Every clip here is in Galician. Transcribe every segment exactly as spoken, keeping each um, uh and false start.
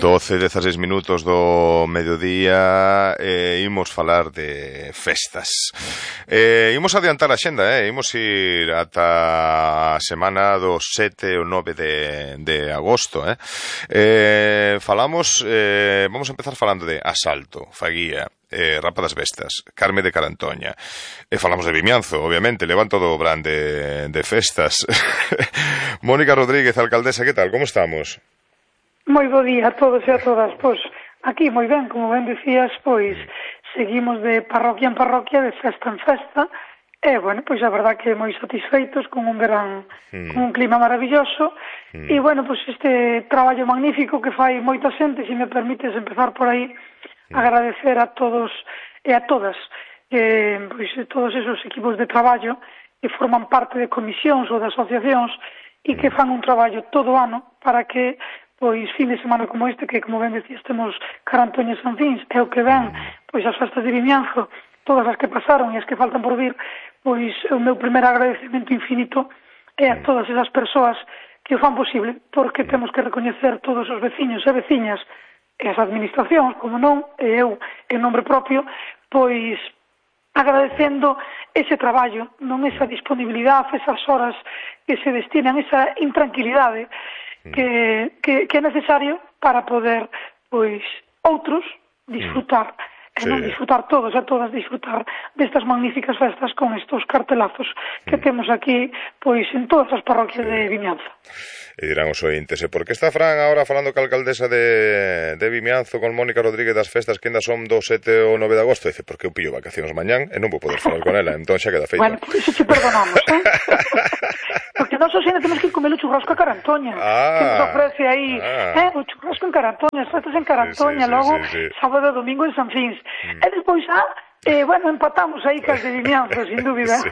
doce, dezaseis minutos do mediodía, eh, imos falar de festas. Eh, imos adiantar a xenda, eh? Imos ir ata a semana do sete ou nove de, de agosto, eh? Eh, falamos, eh, vamos a empezar falando de Asalto, Faguía, eh, Rapa das Vestas, Carme de Carantoña, e falamos de Vimianzo, obviamente, levan todo o brand de, de festas. Mónica Rodríguez, alcaldesa, que tal, como estamos? Moi bo día a todos e a todas. Pois aquí moi ben, como ben dicías, pois seguimos de parroquia en parroquia, de festa en festa, e, bueno, pois a verdad que moi satisfeitos con un verán, mm. con un clima maravilloso, mm. e, bueno, pois este traballo magnífico que fai moita xente, se me permites empezar por aí, mm. agradecer a todos e a todas, eh, pois todos esos equipos de traballo que forman parte de comisións ou de asociacións e que fan un traballo todo o ano para que pois fin de semana como este, que como ben decías temos Carantoña e San Fins, é o que ven, pois as festas de Vimianzo, todas as que pasaron e as que faltan por vir, pois o meu primer agradecemento infinito é a todas esas persoas que o fan posible, porque temos que recoñecer todos os veciños e veciñas e as administracións, como non, e eu, en nombre propio, pois agradecendo ese traballo, non esa disponibilidade, esas horas que se destinan, esa intranquilidade Que, que, que é necesario para poder, pois, outros disfrutar, mm. sí. e non disfrutar todos e todas, disfrutar destas magníficas festas con estos cartelazos que mm. temos aquí, pois, en todas as parroquias sí. de Vimianzo. E dirán os ointes, e por que está Fran agora falando ca alcaldesa de, de Vimianzo con Mónica Rodríguez das festas que ainda son do sete ou nove de agosto? Dice, porque eu pillo vacacións mañán e non vou poder falar con ela, entón xa queda feito. Bueno, por iso te perdonamos, eh? Porque nós hoxe temos que comer o churrasco a Carantoña, ah, que nos ofrece aí, ah. eh, o churrasco en Carantoña, as festas en Carantoña, sí, sí, logo sí, sí, sí. sábado e domingo en San Fins. Mm. E despois, ah, Eh, bueno, empatamos aí cas de Vimianzo, sin dúbida. Sí.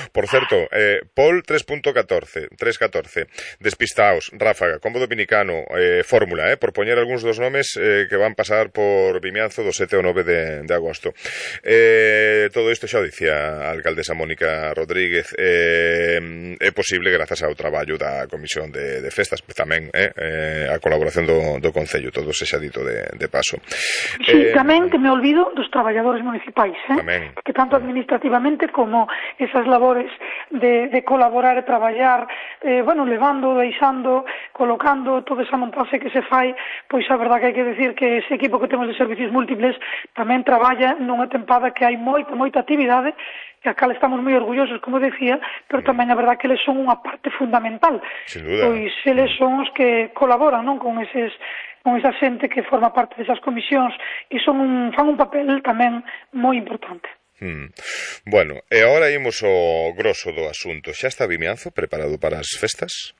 Por certo, eh, Pol tres punto catorce, tres catorce, Despistaos, Ráfaga, Combo Dominicano, eh, Fórmula, eh, por poñer algúns dos nomes eh, que van pasar por Vimianzo do sete ao nove de, de agosto. Eh, todo isto xa o dicía a alcaldesa Mónica Rodríguez, eh, é posible grazas ao traballo da Comisión de, de Festas, pues, tamén eh, eh, a colaboración do, do Concello, todo se xa dito de, de paso. Sí, eh, tamén que me olvido dos traballadores municipais, eh? Tamén. Que tanto administrativamente como esas labores de, de colaborar e traballar, eh, bueno, levando, deixando, colocando toda esa montaxe que se fai, pois a verdad que hai que decir que ese equipo que temos de servicios múltiples tamén traballa nunha tempada que hai moita, moita actividade, que a cal estamos moi orgullosos, como decía, pero tamén a verdad que eles son unha parte fundamental. Sin duda. Pois eles son os que colaboran, non, con eses con esa xente que forma parte desas comisións e son un, fan un papel tamén moi importante. Hmm. Bueno, e agora imos ao grosso do asunto. Xa está Vimianzo preparado para as festas?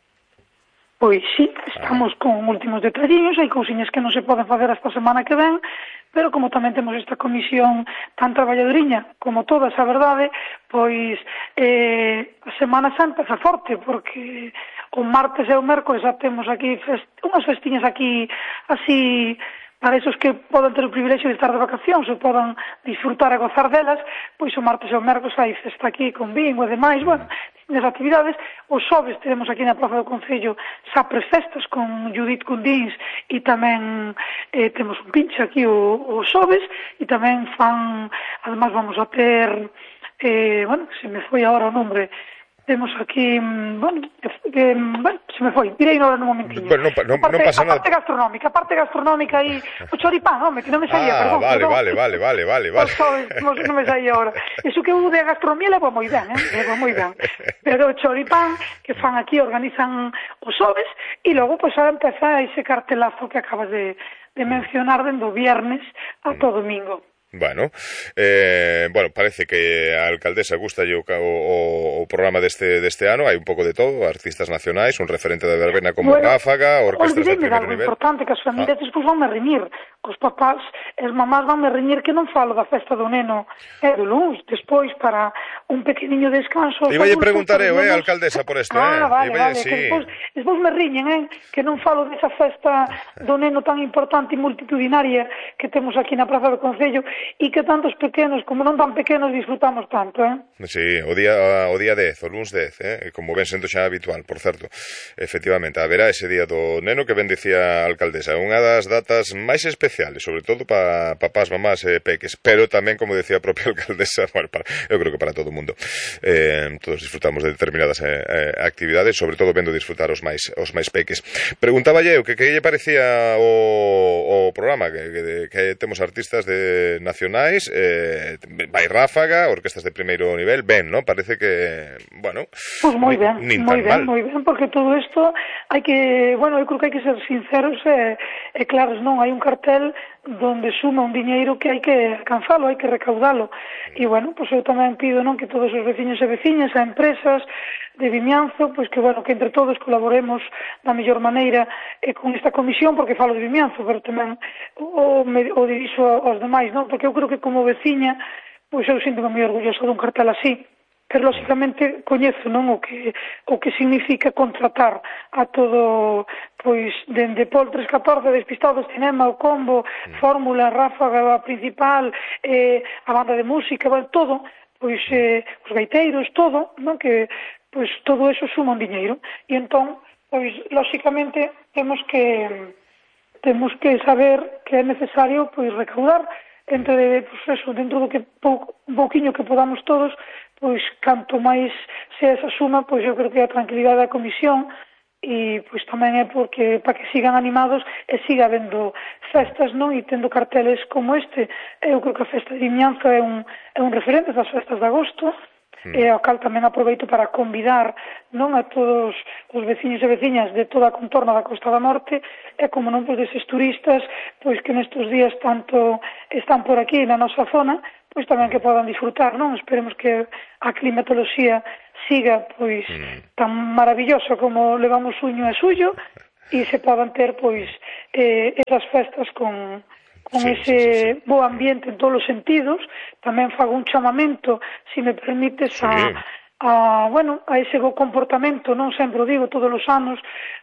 Pois sí, estamos ah. con últimos detalliños, hai cousiñas que non se poden facer esta semana que ven, pero como tamén temos esta comisión tan traballadoriña como todas, a verdade, pois eh, a Semana Santa está forte, porque o martes e o mércoles xa temos aquí fest... unhas festiñas aquí así para esos que poden ter o privilexio de estar de vacacións ou poden disfrutar e gozar delas, pois o martes e o mércoles hai festa aquí con bingo e demais, bueno, as actividades. Os xoves teremos aquí na Praza do Concello Sapres Festas con Judith Cundins e tamén eh, temos un pinche aquí o, o xoves e tamén fan, además vamos a ter eh, bueno, se me foi agora o nombre, temos aquí, bueno, que, bueno, se me foi, direi no nun momentiño. Bueno, non, non, parte, non pasa nada. A parte gastronómica, a parte gastronómica aí, o choripán, home, que non me saía, ah, perdón. vale, perdón. vale, vale, vale, vale, vale. Non, non me saía ahora. Iso que eu de gastronomía levo moi ben, eh, levo moi ben. Pero o choripán que fan aquí, organizan os xoves, e logo, pois, ahora empeza ese cartelazo que acabas de, de mencionar dende o viernes ata o domingo. Bueno, eh, bueno, parece que a alcaldesa gusta o, o, o programa deste, deste ano, hai un pouco de todo, artistas nacionais, un referente da verbena como bueno, Ráfaga, orquestras de primer algo nivel. Importante, que as familias ah. despois van a reñir, os papás e as mamás van a reñir que non falo da festa do neno e do luns, despois para un pequeniño descanso. Iba a preguntar eu, eh, alcaldesa, por isto, ah, eh? vale, Iba, vale, sí. que despois, despois me riñen, eh, que non falo desa festa do neno tan importante e multitudinaria que temos aquí na Praza do Concello e que tantos pequenos como non tan pequenos disfrutamos tanto, eh? Sí, o día o día dez, o luns dez, eh? Como ven sendo xa habitual, por certo. Efectivamente, haberá ese día do neno que ben dicía a alcaldesa, unha das datas máis especiales, sobre todo para papás, mamás e peques, pero tamén, como decía a propia alcaldesa, bueno, para, eu creo que para todo o mundo. Eh, todos disfrutamos de determinadas eh, eh, actividades, sobre todo vendo disfrutar os máis os máis peques. Preguntaba eu que que lle parecía o, o programa, que, que, que temos artistas de nacionais, eh, vai ráfaga, orquestas de primeiro nivel, ben, ¿no? Parece que, bueno, pues moi ben, nin moi ben, mal. moi ben, porque todo isto hai que, bueno, eu creo que hai que ser sinceros e, e claros, non, hai un cartel donde suma un diñeiro que hai que alcanzalo, hai que recaudalo. E, bueno, pois eu tamén pido, non, que todos os veciños e veciñas, a empresas de Vimianzo, pois que, bueno, que entre todos colaboremos da mellor maneira e con esta comisión, porque falo de Vimianzo, pero tamén o, o dirixo aos demais, non? Porque eu creo que como veciña, pois eu sinto moi orgulloso dun cartel así, pero lógicamente coñezo, non, o que o que significa contratar a todo, pois dende Pol tres catorce, Despistados, Cinema, o Combo, Fórmula, Ráfaga, a principal, eh, a banda de música, bueno, todo, pois eh, os gaiteiros, todo, non, que pois todo eso suma un diñeiro e entón, pois lógicamente temos que temos que saber que é necesario pois recaudar entre, pois eso, dentro do que pouco, un pouquiño que podamos todos, pois canto máis se esa suma, pois eu creo que a tranquilidade da comisión e pois tamén é porque para que sigan animados e siga habendo festas, non, e tendo carteles como este. Eu creo que a festa de Vimianzo é un, é un referente das festas de agosto, mm. e ao cal tamén aproveito para convidar, non, a todos os veciños e veciñas de toda a contorna da Costa da Morte e como non, pois deses turistas pois que nestes días tanto están por aquí na nosa zona, pois tamén que podan disfrutar, non? Esperemos que a climatoloxía siga pois mm. tan maravilloso como levamos uño e suyo e se podan ter pois eh, esas festas con, con sí, ese sí, sí, sí. bo ambiente en todos os sentidos. Tamén fago un chamamento, se me permites, sí. a, a, bueno, a ese bo comportamento, non sempre o digo todos os anos,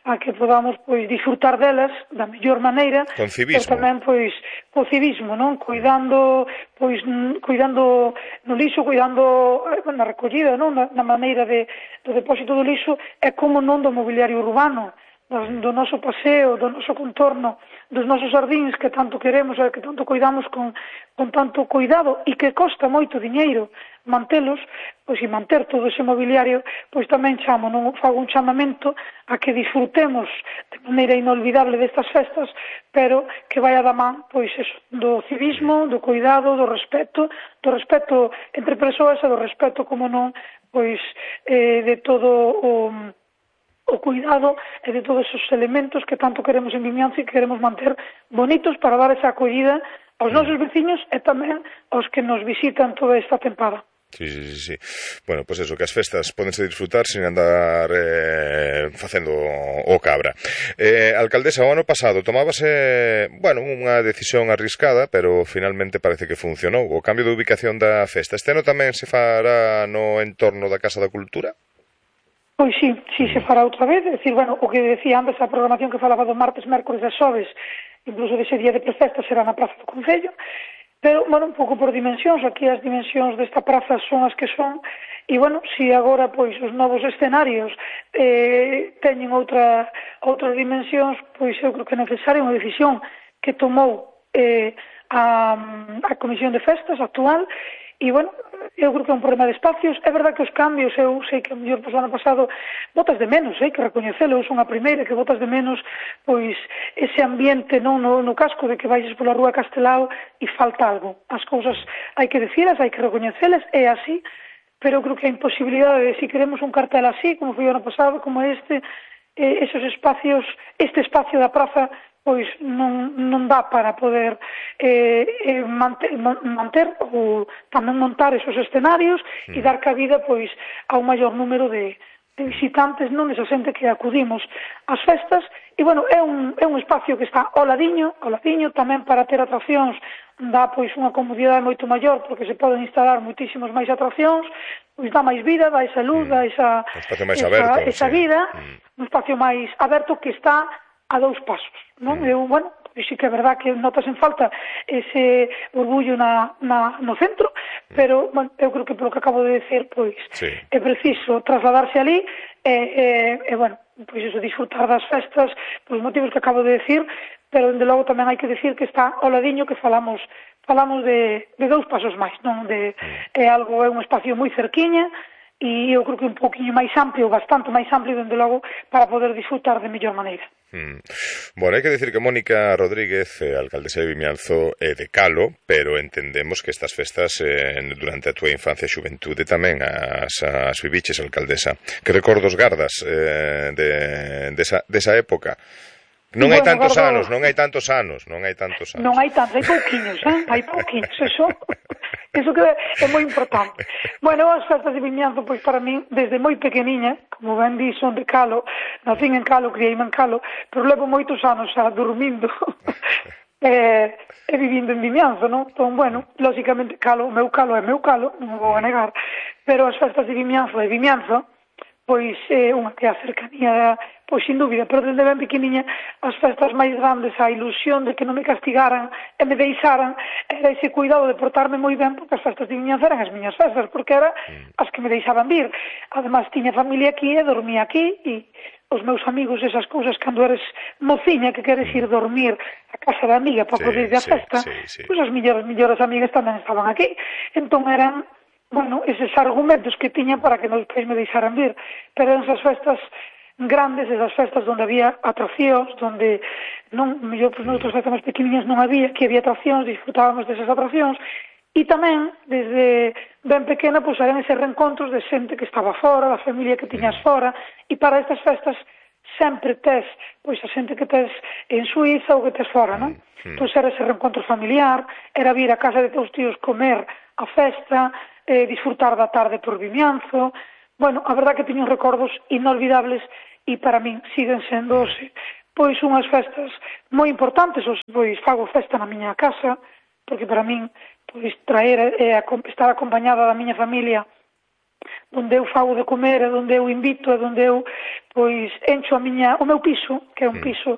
a que podamos pois disfrutar delas da mellor maneira, con civismo, pero tamén pois co civismo, non, cuidando pois cuidando no lixo, cuidando na recollida, non, na, na maneira de do depósito do lixo e como non do mobiliario urbano, do, do noso paseo, do noso contorno, dos nosos jardíns que tanto queremos e que tanto cuidamos con, con tanto cuidado e que costa moito diñeiro mantelos, pois e manter todo ese mobiliario, pois tamén chamo, non fago un chamamento a que disfrutemos de maneira inolvidable destas festas, pero que vai a da man, pois eso, do civismo, do cuidado, do respeto, do respeto entre persoas e do respeto, como non, pois eh, de todo o o cuidado e de todos esos elementos que tanto queremos en Vimianzo e que queremos manter bonitos para dar esa acollida aos nosos veciños e tamén aos que nos visitan toda esta tempada. Sí, sí, sí, sí. Bueno, pois pues eso, que as festas pódense disfrutar sin andar eh, facendo o cabra. Eh, alcaldesa, o ano pasado tomábase, bueno, unha decisión arriscada, pero finalmente parece que funcionou. O cambio de ubicación da festa. Este ano tamén se fará no entorno da Casa da Cultura? Pois sí, sí, se fará outra vez. É dicir, bueno, o que decía antes, a programación que falaba do martes, mércores e xoves, incluso dese día de prefesta será na Praza do Concello. Pero, bueno, un pouco por dimensións, aquí as dimensións desta praza son as que son, e, bueno, se agora, pois, os novos escenarios eh, teñen outra, outras dimensións, pois eu creo que é necesaria unha decisión que tomou eh, a, a Comisión de Festas actual, e, bueno, eu creo que é un problema de espacios. É verdad que os cambios, eu sei que o mellor pois, ano pasado botas de menos, hai que recoñecelo, eu son a primeira que botas de menos pois ese ambiente non no, no casco de que vais pola rúa Castelao e falta algo. As cousas hai que dicilas, hai que recoñecelas, é así, pero eu creo que a imposibilidade de si queremos un cartel así, como foi o ano pasado, como este, eh, esos espacios, este espacio da praza pois non, non dá para poder eh, eh, manter, manter ou tamén montar esos escenarios mm. e dar cabida pois a un maior número de, de visitantes, non esa xente que acudimos ás festas. E, bueno, é un, é un espacio que está ao ladiño, ao ladiño tamén para ter atraccións, dá pois unha comodidade moito maior porque se poden instalar moitísimos máis atraccións, pois dá máis vida, dá esa luz, mm. dá esa, un espacio máis esa, aberto, esa sí. vida, mm. un espacio máis aberto que está a dous pasos, non? Mm. Eu, bueno, pois sí que é verdad que notas en falta ese orgullo na, na, no centro, pero, bueno, eu creo que polo que acabo de decir, pois, sí. é preciso trasladarse ali e, e, e bueno, pois iso, disfrutar das festas, polos motivos que acabo de decir, pero, dende logo, tamén hai que decir que está ao ladiño que falamos falamos de, de dous pasos máis, non? De, mm. é algo, é un espacio moi cerquiña, e eu creo que un poquinho máis amplio, bastante máis amplio, dende logo, para poder disfrutar de mellor maneira. Mm. Bueno, hai que decir que Mónica Rodríguez, eh, alcaldesa de Vimianzo, é de Calo, pero entendemos que estas festas eh, durante a túa infancia e xuventude tamén as, as viviches, alcaldesa. Que recordos gardas eh, de, desa, desa época? Non hai bueno, tantos gardo... anos, non hai tantos anos, non hai tantos anos. Non hai tantos, hai pouquiños, eh? Hai pouquiños, eso, eso que é moi importante. Bueno, as festas de Vimianzo, pois para min, desde moi pequeniña, como ben di, son de Calo, nacín en Calo, criei en Calo, pero levo moitos anos xa dormindo e, e vivindo en Vimianzo, non? Entón, bueno, lógicamente, Calo, o meu Calo é meu Calo, non vou a negar, pero as festas de Vimianzo e Vimianzo, pois é unha que a cercanía, pois sin dúbida, pero desde ben pequeniña as festas máis grandes, a ilusión de que non me castigaran e me deixaran, era ese cuidado de portarme moi ben, porque as festas de Vimianzo eran as miñas festas, porque era as que me deixaban vir. Ademais, tiña familia aquí e dormía aquí, e os meus amigos, esas cousas, cando eres mociña que queres ir dormir a casa da amiga para sí, poder ir a sí, festa, sí, sí. pois as millores, millores amigas tamén estaban aquí. Entón eran, bueno, eses argumentos que tiña para que nos depois me deixaran vir, pero en esas festas grandes, esas festas onde había atraccións, onde non, mellor, pois, noutras festas máis pequeniñas non había, que había atraccións, disfrutábamos desas atraccións, e tamén, desde ben pequena, pois, eran eses reencontros de xente que estaba fora, da familia que tiñas fora, e para estas festas sempre tes, pois, a xente que tes en Suiza ou que tes fora, non? Pois era ese reencontro familiar, era vir a casa de teus tíos comer a festa, eh, disfrutar da tarde por Vimianzo. Bueno, a verdad que teño recordos inolvidables e para min siguen sendo pois unhas festas moi importantes. Pois fago festa na miña casa, porque para min pois traer e estar acompañada da miña familia, onde eu fago de comer, e onde eu invito, e onde eu pois encho a miña, o meu piso, que é un piso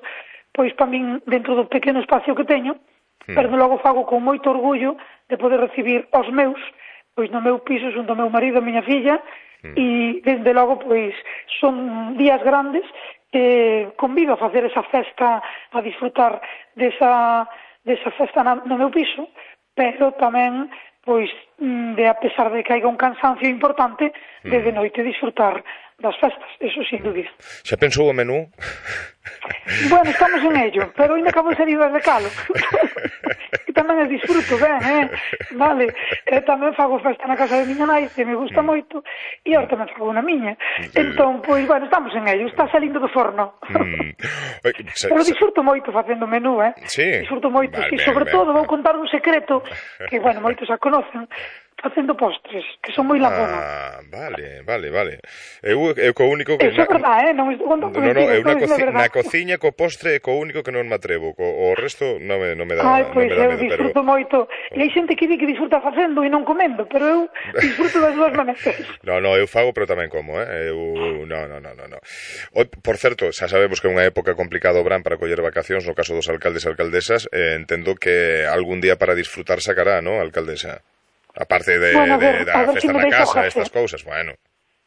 pois para min dentro do pequeno espacio que teño, pero logo fago con moito orgullo de poder recibir os meus pois no meu piso xunto ao meu marido e a miña filla, mm. e desde logo pois son días grandes que convido a facer esa festa, a disfrutar desa, desa festa na, no meu piso, pero tamén pois de a pesar de que haiga un cansancio importante, de de noite disfrutar das festas, eso sin dúbida. Xa pensou o menú? Bueno, estamos en ello, pero ainda acabo de salir de Calo. E tamén es disfruto ben, eh? Vale, e tamén fago festa na casa de miña nai, que me gusta moito, e ahora tamén fago na miña. Entón, pois, bueno, estamos en ello, está salindo do forno. Mm. Pero disfruto moito facendo menú, eh? Sí? Disfruto moito, vale, e sobre ben, todo ben. Vou contar un secreto, que, bueno, moitos xa conocen, facendo postres, que son moi labona. Ah, vale, vale, vale. Eu, eu co único que... Eso é verdade, eh? Non me estou contando no, no, eu na, coci na cociña co postre é co único que non me atrevo, co, o resto non me, non me dá Ai, pois no eu medo, disfruto pero... moito, e hai xente que di que disfruta facendo e non comendo, pero eu disfruto das dúas maneiras. No, no, eu fago, pero tamén como, eh? Eu, no, no, no, no, no. O, por certo, xa sabemos que é unha época complicada o verán para coller vacacións, no caso dos alcaldes e alcaldesas, eh, entendo que algún día para disfrutar sacará, ¿no, alcaldesa? Aparte de, bueno, ver, de da ver festa si na casa, estas cousas, bueno.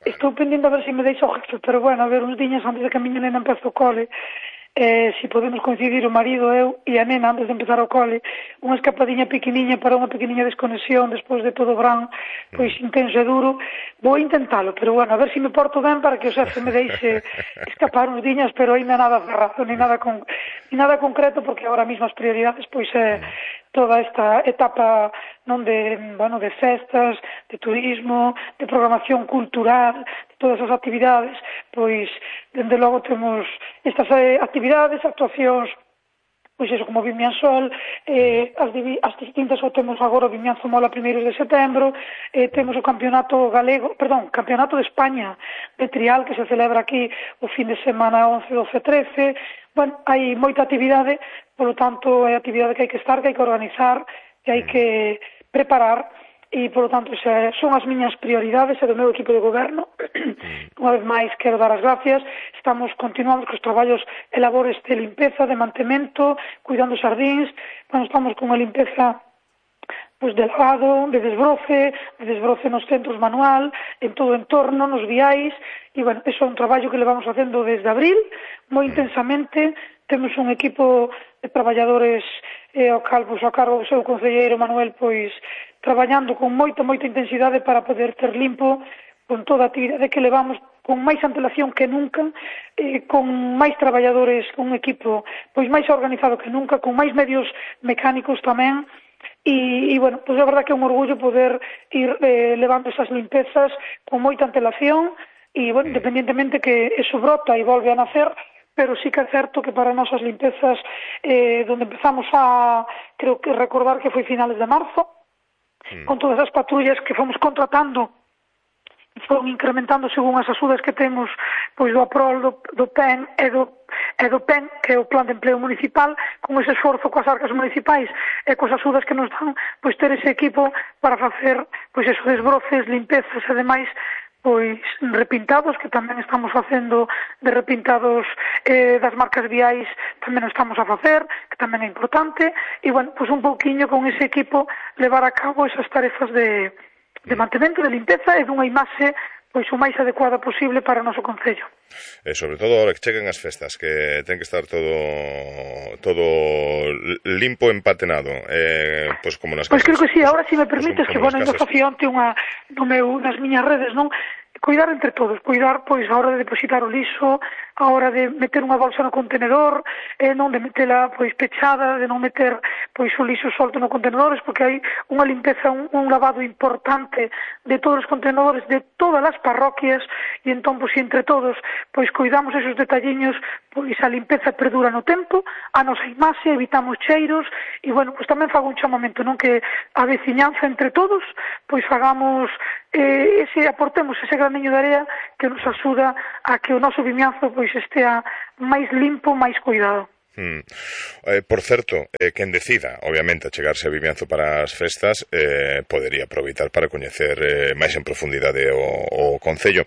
Estou pendiendo a ver se si me deixo o jefe, pero bueno, a ver, uns diñas antes de que a miña nena empece o cole, eh, si podemos coincidir o marido, eu e a nena antes de empezar o cole, unha escapadiña pequeniña para unha pequeniña desconexión despois de todo o verán, pois intenso e duro, vou intentalo, pero bueno, a ver se si me porto ben para que o xefe me deixe escapar uns diñas, pero ainda nada cerrado, ni nada, con, ni nada concreto, porque agora mesmo as prioridades pois é toda esta etapa non de, bueno, de festas, de turismo, de programación cultural, de todas as actividades, pois, dende logo temos estas eh, actividades, actuacións, pois eso, como Vimiansol, eh, as, as distintas, o temos agora o Vimianzo Mola primeiros de setembro, eh, temos o campeonato galego, perdón, campeonato de España de trial, que se celebra aquí o fin de semana once, doce, trece, bueno, hai moita actividade, polo tanto, é actividade que hai que estar, que hai que organizar, que hai que preparar, e, polo tanto, xa son as miñas prioridades e do meu equipo de goberno. Unha vez máis, quero dar as gracias. Estamos continuando cos traballos e labores de limpeza, de mantemento, cuidando os xardíns. Bueno, estamos con a limpeza pues, de lavado, de desbroce, de desbroce nos centros manual, en todo o entorno, nos viais, e, bueno, eso é un traballo que levamos facendo desde abril, moi intensamente. Temos un equipo de traballadores eh, ao calvo, a cargo do seu concelleiro Manuel, pois, traballando con moita, moita intensidade para poder ter limpo con toda a actividade que levamos con máis antelación que nunca, eh, con máis traballadores, con un equipo pois máis organizado que nunca, con máis medios mecánicos tamén. E, e bueno, pois é verdad que é un orgullo poder ir eh, levando esas limpezas con moita antelación e, bueno, independientemente que eso brota e volve a nacer, pero sí que é certo que para nós as limpezas eh, donde empezamos a, creo que recordar que foi finales de marzo, mm. con todas as patrullas que fomos contratando, foron incrementando según as axudas que temos pois do APROL, do, do P E N e do, e do P E N, que é o Plan de Empleo Municipal, con ese esforzo coas arcas municipais e coas axudas que nos dan, pois ter ese equipo para facer pois esos desbroces, limpezas e demais, pois repintados, que tamén estamos facendo de repintados eh, das marcas viais, tamén o estamos a facer, que tamén é importante, e, bueno, pois un pouquiño con ese equipo levar a cabo esas tarefas de de mantemento, de limpeza e dunha imaxe pois o máis adecuada posible para o noso concello. E sobre todo ahora que cheguen as festas, que ten que estar todo todo limpo, empatenado, eh, pois como nas casas. Pois creo que sí, agora si me permites, pues, que bueno, ainda facía onte unha no meu, nas miñas redes, non? Cuidar entre todos, cuidar pois a hora de depositar o lixo, a hora de meter unha bolsa no contenedor, e non de metela pois pechada, de non meter pois o lixo solto no contenedores, porque hai unha limpeza, un, un lavado importante de todos os contenedores de todas as parroquias, e entón pois entre todos pois cuidamos esos detalliños, pois a limpeza perdura no tempo, a nosa imaxe, evitamos cheiros, e bueno, pois tamén fago un chamamento, non, que a veciñanza entre todos pois fagamos eh, ese, aportemos ese graniño de area que nos axuda a que o noso vimianzo pois estea máis limpo, máis cuidado. Hmm. Eh, por certo, eh, quen decida, obviamente, achegarse a Vimianzo para as festas, eh, podería aproveitar para coñecer eh, máis en profundidade o, o Concello.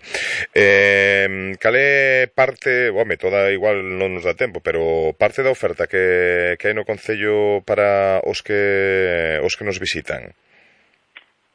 Eh, cal é parte, home, toda igual non nos dá tempo, pero parte da oferta que, que hai no Concello para os que os que nos visitan?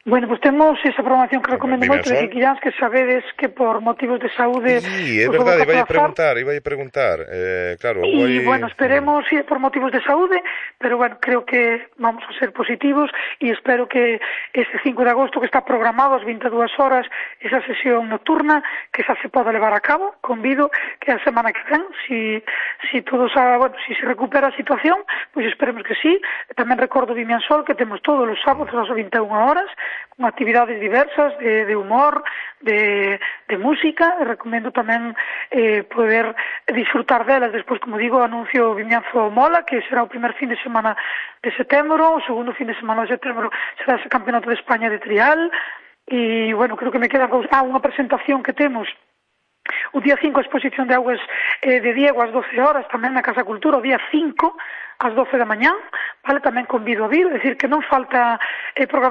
Bueno, pues temos esa programación que recomendo moito de Quiquillans, que sabedes que por motivos de saúde... Sí, é verdade, iba a preguntar, iba a preguntar, eh, claro... E, voy... bueno, esperemos, sí, por motivos de saúde, pero, bueno, creo que vamos a ser positivos e espero que este cinco de agosto, que está programado ás vinte e dúas horas, esa sesión nocturna, que xa se poda levar a cabo, convido que a semana que ven, si, si todo xa, bueno, si se recupera a situación, pois pues esperemos que sí. Tamén recordo Vimiansol, que temos todos os sábados ás vinte e unha horas, con actividades diversas de, de humor, de, de música. E recomendo tamén eh, poder disfrutar delas. Despois, como digo, anuncio Vimianzo Mola, que será o primer fin de semana de setembro, o segundo fin de semana de setembro será ese Campeonato de España de trial. E, bueno, creo que me queda ah, unha presentación que temos o día cinco, a exposición de augas eh, de Diego ás doce horas, tamén na Casa Cultura, o día cinco ás doce da mañá, vale, tamén convido a vir, é dicir, que non falta eh, programación